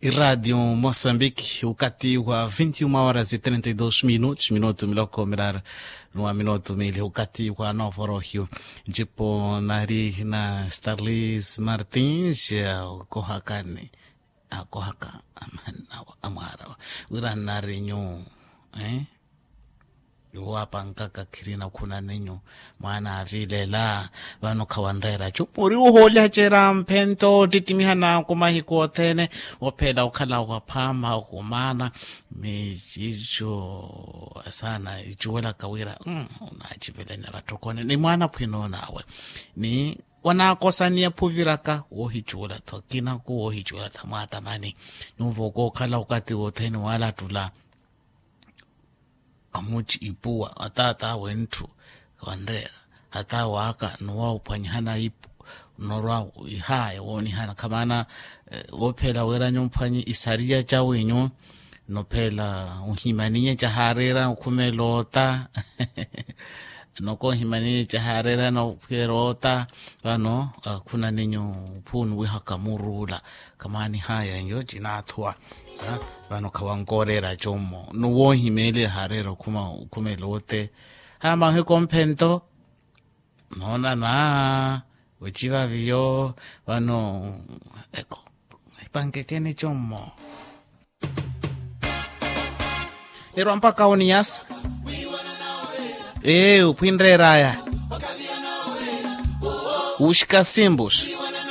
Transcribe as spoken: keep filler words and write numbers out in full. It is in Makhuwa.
Iradio mosambiki ukati wa vinti uma horas e trinta e dos minutos minutu miloko miraru, nwa minutu mili ukati wa novorohiu. Njipo nari na starlis martins. Kohakani akohaka amwarawa wira nari nyu eh? Iwo apankaka khirina khuna ninyu mwaana avilela. Vano khawanreera cu muri uhoolya cera mphento ottittimiha naku mahiku othene. Wophela okhala waphaama okumaana. Ni cico asana icuwelaka wira unacivelene vatthokone ni mwaana phwinonawe ni wanakosaniya phuviraka wohicuwela-tho kinaku wohicuwela-tho mwatamani. Nyuvo kookhala okati wothene walattula amuci ipuwa ataatawe ntthu wanreera ataawaka nowa ophwanyihana ipu norwa ihaya woonihana khamana. Wophela wira nyumphwanyi isariya cawenyu nophela ohimaniye cahareera okhumela ota. Nokohimaniye cahareera nophwera ota. Vano khuna ninyu phunuwihaka muruula khamani haya nyo cinaathuwa. Vano khawankoreera commo nowohimele hareera okhumela ote. Haya mahiku omphento noonana ociva viyo. Vano eko ipankekeni commo. Erwa mpaka oniyasa. Ee uphwinreeraya uxika simpos.